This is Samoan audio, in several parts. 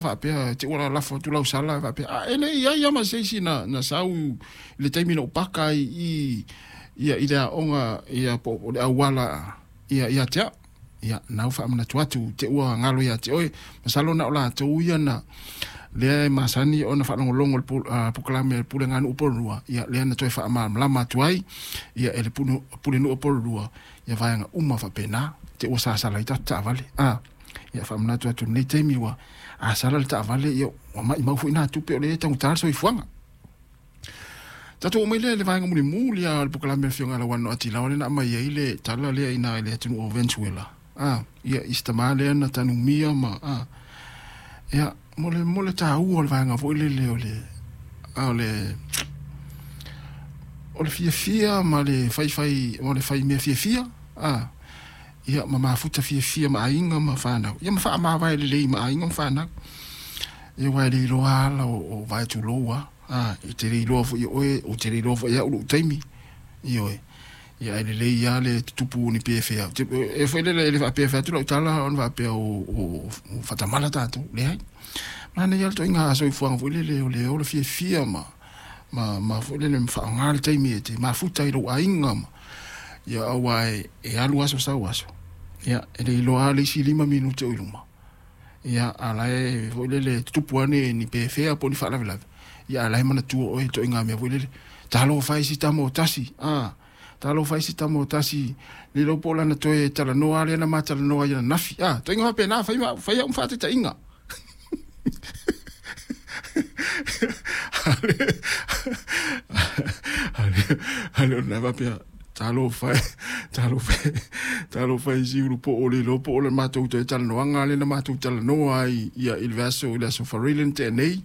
Faapea te ua lalafo atu lau sala faapea a e le i ai lava ma se isi na sau i le taimi na ou paka ai i ia i le aoga ia po o le auala ia ia te au. Ia na ua faamanatu atu te ua galo ia te oe. Masalo na o latou ia na lea e masani ona faalogologo i le polokalame a le Puleganuu Upololua, ia lea na toe faamalamalama atu ai ia e le Pulenuu Upololua ia vaega uma faapena te ua sasala ai tatou taavale. Ia faamanatu atu i lenei taimi ua a sala le taavale, ia ua maimau foi nā tupe o lea e taugata le soifuaga. Tatou oo mai lea i le vaega mulimuli lava o le polokalame a le Afioga ia Lauano Atilao lea na aumai ai le tala lea i ina i le atunuu o Venezuela. Ia i si tama lea na tanumia ma ia mo le mo le taua o le vaega foi lele o le o le o le fiafia ma le faifai ma le fai mea fiafia. Ia ma mafuta fiafia ma aiga ma fanau, ia ma faamavae lelei ma aiga ma fanau. Ia aua e le iloa ala o vae tulou lava, e te le iloa foi e oe, ou te le iloa foi e au lou taimi, ioe. Ia ae lelei lava le tutupu o ni pefea. E foi lele e le faapea e fai atu lau tala ona faapea o faatamala tatou, leai. Manaia lava le ituaiga soifuaga foi lele o le ola fiafia ma ma foi lele ma faaaoga le taimi e te mafuta ai i lou aiga ma ia aua e alu aso sau aso, ia e le iloa lava le isi 5 minute o i luma, ia a o la e foi lele e tutupu lava ni pefea po o ni faalavelave, ia a o la e manatua oe i ituaiga mea foi lele, talofa e i si tama o tasi, talofa e i si tama o tasi, le iloa po o lana toe talanoa lava lea na ma talanoa ai ananafi, ituaiga faapena, fai au ma faataitaiga. Ale o lena faapea, talofa e, talofa e, talofa e i si ulupo'o le iloa po o le matou toe talanoaga lea na matou talanoa ai ia i le vaiaso i le aso Faraile na tea nei,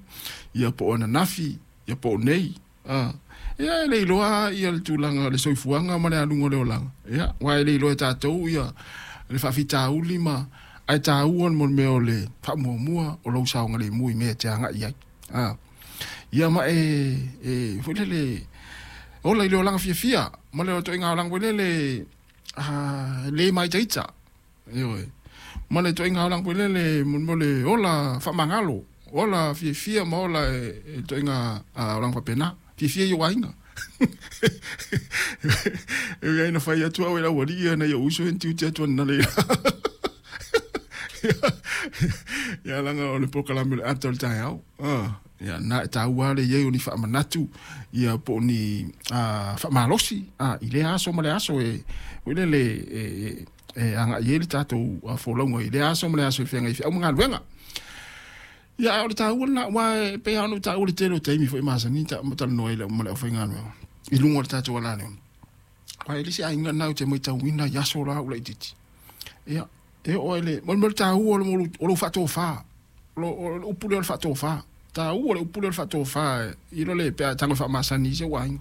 ia po o ananafi, ia po o nei. Ia e le iloa ia le tulaga o le soifuaga ma le aluga o le olaga. Ia, aua e le iloa e tatou ia le faafitauli ma ae taua le mea o le faamuamua o lou saogalemu i mea e te agai i ai. Ia ma e foi lele ola i le olaga fiafia ma le ituaiga olaga foi lele le māitaita. Ioe. Ma le ituaiga olaga foi lele mo le ola faamagalo, ola fiafia ma ola e ituaiga olaga faapena. Fiafia i ou aiga. E ui ai na fai atu au e le aualii ia nai ou uso ia na tiute atu analeila. Ia leaga o le polokalame o le ata o le taeao. Ia na e taua lava le i ai o ni faamanatu ia po o ni faamalosi i lea aso ma le aso e foi lele e agai ai le tatou folauga i lea aso ma le aso e feagai ai feau ma galuega. Ia, a o le taua lena, aua e pei lava ona ou taua i le tele o taimi foi masani ta talanoa ai ma le aufaigaluega i luga o le tatou alaleo. Aua e le isi aiga lena ou te matauina i aso la a ou laitiiti. Ia, e oo lava i le, mo le taua o lou faatofa, o le upu lea o le faatofa, taua le upu lea o le faatofa i lo le pe a tago e faamasani i si ou aiga.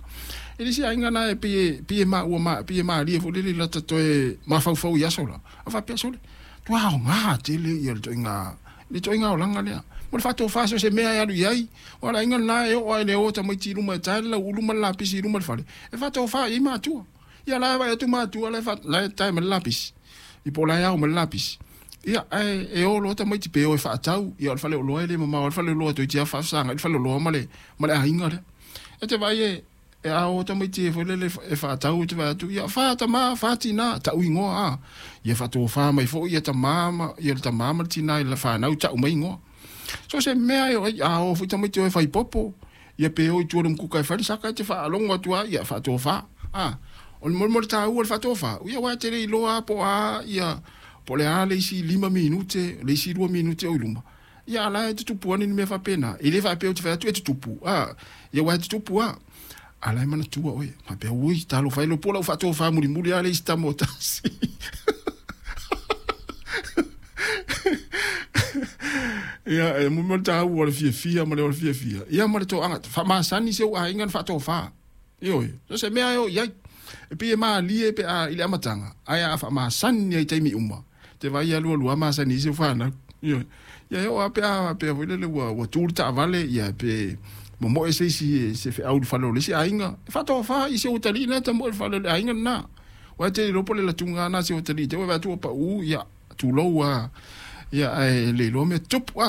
E le isi aiga lena e pei e pei e maua pei e malie foi lele i lata toe mafaufau i aso la, a faapea sole, tua aoga tele ia le ituaiga le ituaiga olaga lea. Mo le faatofa so o se mea e alu i ai, aua o le aiga lena e oo lava i le o tamaiti i luma e tae le lauulu ma le lapisi i luma o le fale, e faatofa i ai matua. Ia la e vaai atu matua la e la e tae mai le lapisi, ia po o la e ao mai le lapisi. Ia, ae e o loa tamaiti pe o e faatau, ia o le faleoloa e le mamao lava le faleoloa toeitiiti lava faafesagai le faleoloa ma le ma le aiga lea. E te vaai e e a o tamaiti e foi lele e faatau e te vaai atu, ia fa tama, fa tina, tau igoa a. Ia faatofa mai foi ia tama ma ia le tama ma le tina i le fanau tau mai igoa. So se mea e o ai, a o foi tamaiti o e fai popo, ia pe o i tua i le umukuka e fai le saka e te faalogo atu lava, ia faatofa. A, o le mo le taua o le faatofa, ia aua e te le iloa lava po o a ia, po o le a le isi 5 minute, le isi 2 minute o i luma, ia a o la e tutupu ane ni mea faapena. E le faapea ou te fai atu e tutupu, a, ia aua e tutupu lava. A o la e manatua oe, faapea, ui, talofa e, iloa po o lau faatofa mulimuli lava le isi tama o tasi. Ia, e mo le taua o le fiafia ma le ola fiafia, ia ma le toaga, faamasani si ou aiga na faatofa. Ioe, so se mea e o i ai. E pei e malie pe a i le amataga, ae a faamasani ai i taimi uma, te vaai e alualu lava masani ai si ou fanau. Ioe, ia e oo lava pe a faapea foi lele ua tu le taavale, ia pe momoe se isi se feau i le fale o le isi aiga, e faatofa i si ou atalii lena e tamoe i le fale o le aiga lena. Aua e te le iloa po o le latuga lena a si ou atalii te i ua vaai atu ua pau, ia, tulou lava, ia ae le iloa mea tutupu.